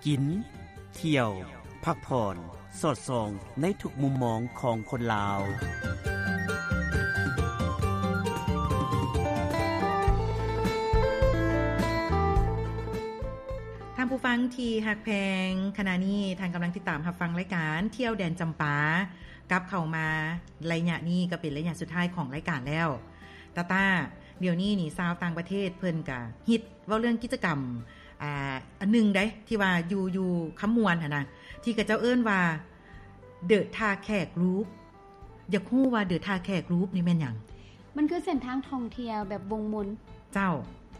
ກິນ ທ່ຽວ ພັກຜ່ອນ ສອດສ່ອງໃນທຸກມຸມມອງຂອງຄົນລາວ. ທ່ານຜູ້ຟັງທີ່ຮັກແພງ, ຂະນະນີ້ທ່ານກຳລັງຕິດຕາມຮັບຟັງລາຍການທ່ຽວແດນຈຳປາ. ກັບເຂົ້າມາໄລຍະນີ້ກໍເປັນໄລຍະສຸດທ້າຍຂອງລາຍການແລ້ວ. ຕາຕາ, ດຽວນີ້ນີ້ຊາວຕ່າງປະເທດເພິ່ນກະຮິດເວົ້າເລື່ອງກິດຈະກຳ ອ່າ ອັນໜຶ່ງໃດ ທີ່ວ່າຢູ່ ຢູ່ຄຳມ່ວນຫັ້ນນະ ທີ່ເຂົາເຈົ້າເອີ້ນວ່າ The ທ່າແຂກ Loop. ຢາກຮູ້ວ່າ The ທ່າແຂກ Loop ນີ້ແມ່ນຫຍັງ? ມັນຄືເສັ້ນທາງທ່ອງທ່ຽວແບບວົງມົນ. ເຈົ້າ.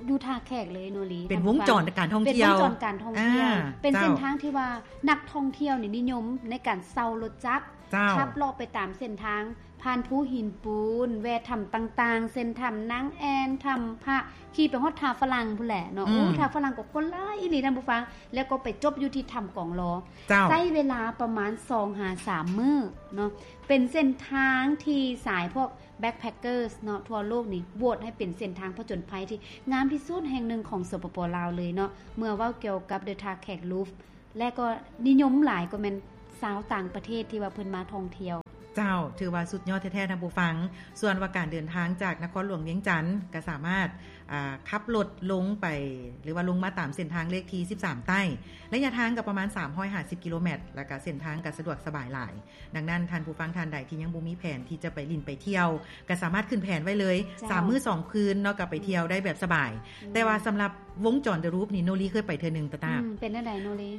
ຢູ່ທ່າແຂກເລີຍໂນລີ. ເປັນວົງຈອນການທ່ອງທ່ຽວ. ເປັນວົງຈອນການທ່ອງທ່ຽວ. ອ່າ ເປັນເສັ້ນທາງທີ່ວ່ານັກທ່ອງທ່ຽວນີ້ນິຍົມໃນການເຊົ່າລົດຈັກ. ເຈົ້າ. ຂັບເລາະໄປຕາມເສັ້ນທາງ ຜ່ານພູຫີນປູນ ແວ່ຖ້ຳຕ່າງໆ ເຊັ່ນຖ້ຳນາງແອ່ນ ຖ້ຳພະ ຂີ່ໄປຮອດທ່າຝຣັ່ງພຸ້ນແຫຼະເນາະ. ອືມ. ໂອ້ ທ່າຝຣັ່ງກໍຄົນຫຼາຍອີ່ຫຼີທ່ານຜູ້ຟັງ ແລ້ວກໍໄປຈົບຢູ່ທີ່ຖ້ຳກອງລໍ. ເຈົ້າ. ໃຊ້ເວລາປະມານສອງຫາສາມມື້ເນາະ. ເປັນເສັ້ນທາງທີ່ສາຍພວກ backpackers ເນາະ ທົ່ວໂລກນີ້ໂຫວດໃຫ້ເປັນເສັ້ນທາງຜະຈົນໄພທີ່ງາມທີ່ສຸດແຫ່ງໜຶ່ງຂອງ ສປປ ລາວ ເລີຍເນາະ. ເມື່ອເວົ້າກ່ຽວກັບ The ທ່າແຂກ Loop ແລະກໍນິຍົມຫຼາຍກໍແມ່ນຊາວຕ່າງປະເທດທີ່ວ່າເພິ່ນມາທ່ອງທ່ຽວ. ເຈົ້າ, ຖືວ່າສຸດຍອດແທ້ໆ ທ່ານຜູ້ຟັງ. ສ່ວນວ່າການເດີນທາງຈາກນະຄອນຫຼວງວຽງຈັນ ກໍສາມາດ ອ່າ ຂັບລົດລົງໄປ ຫຼືວ່າລົງມາຕາມເສັ້ນທາງເລກທີສິບສາມໃຕ້ ໄລຍະທາງກໍປະມານສາມຮ້ອຍຫ້າສິບກິໂລແມັດ ແລ້ວກໍເສັ້ນທາງກໍສະດວກສະບາຍຫຼາຍ. ດັ່ງນັ້ນ ທ່ານຜູ້ຟັງທ່ານໃດທີ່ຍັງບໍ່ມີແຜນທີ່ຈະໄປຫຼິ້ນໄປທ່ຽວ ກໍສາມາດຂຶ້ນແຜນໄວ້ເລີຍ. ເຈົ້າ. ສາມມື້ສອງຄືນເນາະ ກໍໄປທ່ຽວໄດ້ແບບສະບາຍ. ອືມ. ແຕ່ວ່າສຳລັບວົງຈອນ The Loop ນີ້ ໂນລີເຄີຍໄປເທື່ອໜຶ່ງ ຕາຕາ. ອືມ. ເປັນແນວໃດໂນລີ?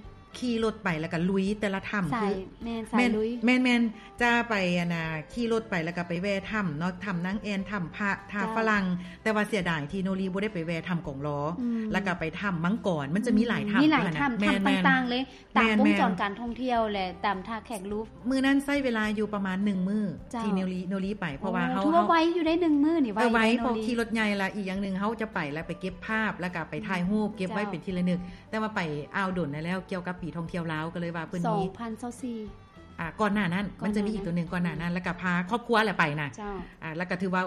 ຂີ່ລົດໄປ ແລ້ວກໍລຸຍແຕ່ລະຖ້ຳ. ສາຍ ຄື ແມ່ນ ສາຍລຸຍ. ແມ່ນ ແມ່ນ ຈະໄປ ອັນນ່າ ຂີ່ລົດໄປ ແລ້ວກໍໄປແວ່ຖ້ຳເນາະ ຖ້ຳນາງແອ່ນ ຖ້ຳພະ ທ່າຝຣັ່ງ. ເຈົ້າ. ແຕ່ວ່າເສຍດາຍທີ່ໂນລີບໍ່ໄດ້ໄປແວ່ຖ້ຳກອງລໍ. ອືມ. ແລ້ວກໍໄປຖ້ຳມັງກອນ ມັນຈະມີຫຼາຍຖ້ຳ. ອືມ. ມີຫຼາຍຖ້ຳ. ແມ່ນໆ. ຖ້ຳຕ່າງໆເລີຍ. ຕາມວົງຈອນການທ່ອງທ່ຽວ ແລະ ຕາມທ່າແຂກ Loop. ມື້ນັ້ນໃຊ້ເວລາຢູ່ປະມານໜຶ່ງມື້ ເຈົ້າ ທີ່ໂນລີ ໂນລີໄປ ເພາະວ່າ ໂອ້ ເຮົາ ຖືວ່າໄວຢູ່ໄດ໋ ໜຶ່ງມື້ນີ້ ໄວ ເອີ ໄວ ເພາະຂີ່ລົດໃຫຍ່ລະ ອີກຢ່າງໜຶ່ງເຮົາຈະໄປລະໄປເກັບພາບ ລະກະໄປຖ່າຍຮູບ ເກັບໄວ້ເປັນທີ່ລະນຶກ. ເຈົ້າ. ແຕ່ວ່າໄປອ້າວດົນແລ້ວ ກ່ຽວກັບປີທ່ອງທ່ຽວລາວ ກໍເລີຍວ່າເພິ່ນມີ ສອງພັນຊາວສີ່ ອ່າ ກ່ອນໜ້ານັ້ນ ມັນຈະມີອີກໂຕໜຶ່ງກ່ອນໜ້ານັ້ນ ລະກະພາຄອບຄົວແຫຼະໄປນະ. ເຈົ້າ. ອ່າ ລະກະຖືວ່າ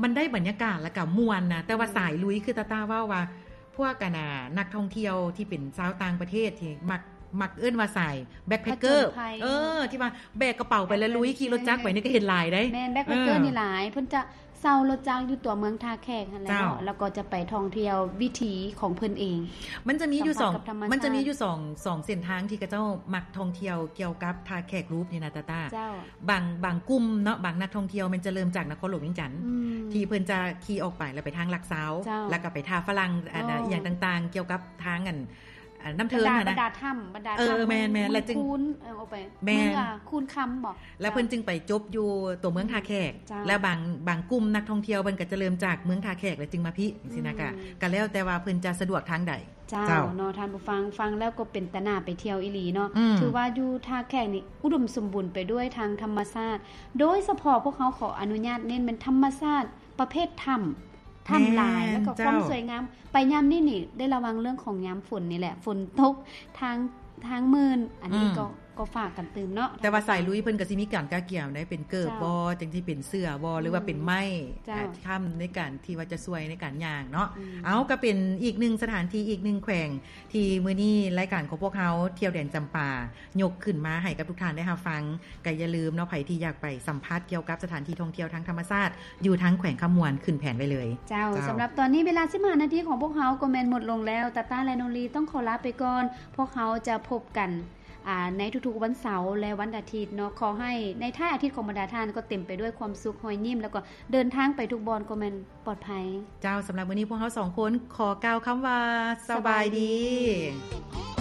ມັນໄດ້ບັນຍາກາດ ແລ້ວກໍມ່ວນນະ ແຕ່ວ່າສາຍລຸຍ ຄືຕາຕາເວົ້າວ່າ ພວກ ອັນນ່າ ນັກທ່ອງທ່ຽວທີ່ເປັນຊາວຕ່າງປະເທດທີ່ມັກ ມັກເອີ້ນວ່າສາຍ backpacker ຜະຈົນໄພ. ເອີ ທີ່ວ່າແບກກະເປົາໄປແລ້ວລຸຍ ຂີ່ລົດຈັກໄປນີ້ກໍເຫັນຫຼາຍເດ້. ແມ່ນ backpacker ນີ້ຫຼາຍ ເພິ່ນຈະເຊົ່າລົດຈັກຢູ່ຕົວເມືອງທ່າແຂກຫັ້ນແຫຼະເນາະ. ເຈົ້າ. ແລ້ວກໍຈະໄປທ່ອງທ່ຽວວິຖີຂອງເພິ່ນເອງ. ມັນຈະມີຢູ່ສອງ ມັນຈະມີຢູ່ສອງ ສອງເສັ້ນທາງທີ່ເຂົາເຈົ້າມັກທ່ອງທ່ຽວກ່ຽວກັບທ່າແຂກ Loop ນີ້ນະ ຕາຕາ. ເຈົ້າ. ບາງ ບາງກຸ່ມເນາະ ບາງນັກທ່ອງທ່ຽວແມ່ນຈະເລີ່ມຈາກນະຄອນຫຼວງວຽງຈັນ ອືມ ທີ່ເພິ່ນຈະຂີ່ອອກໄປແລ້ວໄປທາງຫຼັກຊາວ ເຈົ້າ ແລ້ວກໍໄປທ່າຝຣັ່ງ ອັນ ໂອ້ ອີ່ຫຍັງຕ່າງໆ ກ່ຽວກັບທາງ ອັນ ອັນ ນ້ຳເທີນຫັ້ນນະ ບັນດາຖ້ຳ ບັນດາຖ້ຳ ເອີ ແມ່ນໆ ແລ້ວຈຶ່ງ ເມືອງຄູນ ເອີ ອອກໄປ ແມ່ນ ເມືອງຄູນຄຳບໍ ແລ້ວເພິ່ນຈຶ່ງໄປຈົບຢູ່ຕົວເມືອງທ່າແຂກ. ເຈົ້າ. ແລ້ວບາງ ບາງກຸ່ມນັກທ່ອງທ່ຽວເພິ່ນກໍຈະເລີ່ມຈາກເມືອງທ່າແຂກ ແລ້ວຈຶ່ງມາພີ້ ຈັ່ງຊີ້ນະ ກະ ອືມ ກະແລ້ວແຕ່ວ່າເພິ່ນຈະສະດວກທາງໃດ. ເຈົ້າ ເຈົ້າ ເນາະ ທ່ານຜູ້ຟັງ ຟັງແລ້ວກໍເປັນຕາໜ້າໄປທ່ຽວອີ່ຫຼີເນາະ. ອືມ. ຖືວ່າຢູ່ທ່າແຂກນີ້ອຸດົມສົມບູນໄປດ້ວຍທາງທຳມະຊາດ ໂດຍສະເພາະພວກເຮົາຂໍອະນຸຍາດເນັ້ນແມ່ນທຳມະຊາດປະເພດຖ້ຳ ຖ້ຳຫຼາຍ ແມ່ນ ແລ້ວກໍຄວາມ ເຈົ້າ ສວຍງາມ. ໄປຍາມນີ້ນີ້ໄດ້ລະວັງເລື່ອງຂອງຍາມຝົນນີ້ແຫຼະ ຝົນຕົກ ທາງ ທາງມື່ນ ອັນນີ້ ອືມ ກໍ ກໍຝາກກັນຕື່ມເນາະ. ແຕ່ວ່າສາຍລຸຍເພິ່ນກໍຊິມີການກະກຽມໄດ໋ ເປັນເກີບບໍ ເຈົ້າ ຈັ່ງຊິເປັນເສືອບໍ ອືມ ຫຼືວ່າເປັນໄມ້ ເຈົ້າ ອ່າ ຄ້ຳໃນການທີ່ວ່າຈະຊ່ວຍໃນການຍ່າງເນາະ. ອືມ. ເອົາ ກໍເປັນອີກໜຶ່ງສະຖານທີ່ ອີກໜຶ່ງແຂວງ ທີ່ມື້ນີ້ລາຍການຂອງພວກເຮົາທ່ຽວແດນຈຳປາ ຍົກຂຶ້ນມາໃຫ້ກັບທຸກທ່ານໄດ້ຮັບຟັງ. ກໍຢ່າລືມເນາະ ໃຜທີ່ຢາກໄປສຳຜັດກ່ຽວກັບສະຖານທີ່ທ່ອງທ່ຽວທາງທຳມະຊາດ ຢູ່ທາງແຂວງຄຳມ່ວນ ຂຶ້ນແຜນໄວ້ເລີຍ. ເຈົ້າ. ເຈົ້າ. ສຳລັບຕອນນີ້ເວລາສິບຫ້ານາທີຂອງພວກເຮົາກໍແມ່ນໝົດລົງແລ້ວ. ຕາຕາ ແລະ ໂນລີ ຕ້ອງຂໍລາໄປກ່ອນ. ພວກເຮົາຈະພົບກັນ ອ່າ ໃນທຸກໆວັນເສົາ ແລະ ວັນອາທິດເນາະ. ຂໍໃຫ້ໃນທ້າຍອາທິດຂອງບັນດາທ່ານກໍເຕັມໄປດ້ວຍຄວາມສຸກ ຮອຍຍິ້ມ ແລ້ວກໍເດີນທາງໄປທຸກບ່ອນກໍແມ່ນປອດໄພ. ເຈົ້າ. ສຳລັບມື້ນີ້ພວກເຮົາສອງຄົນຂໍກ່າວຄຳວ່າ ສະບາຍດີ. ສະບາຍດີ.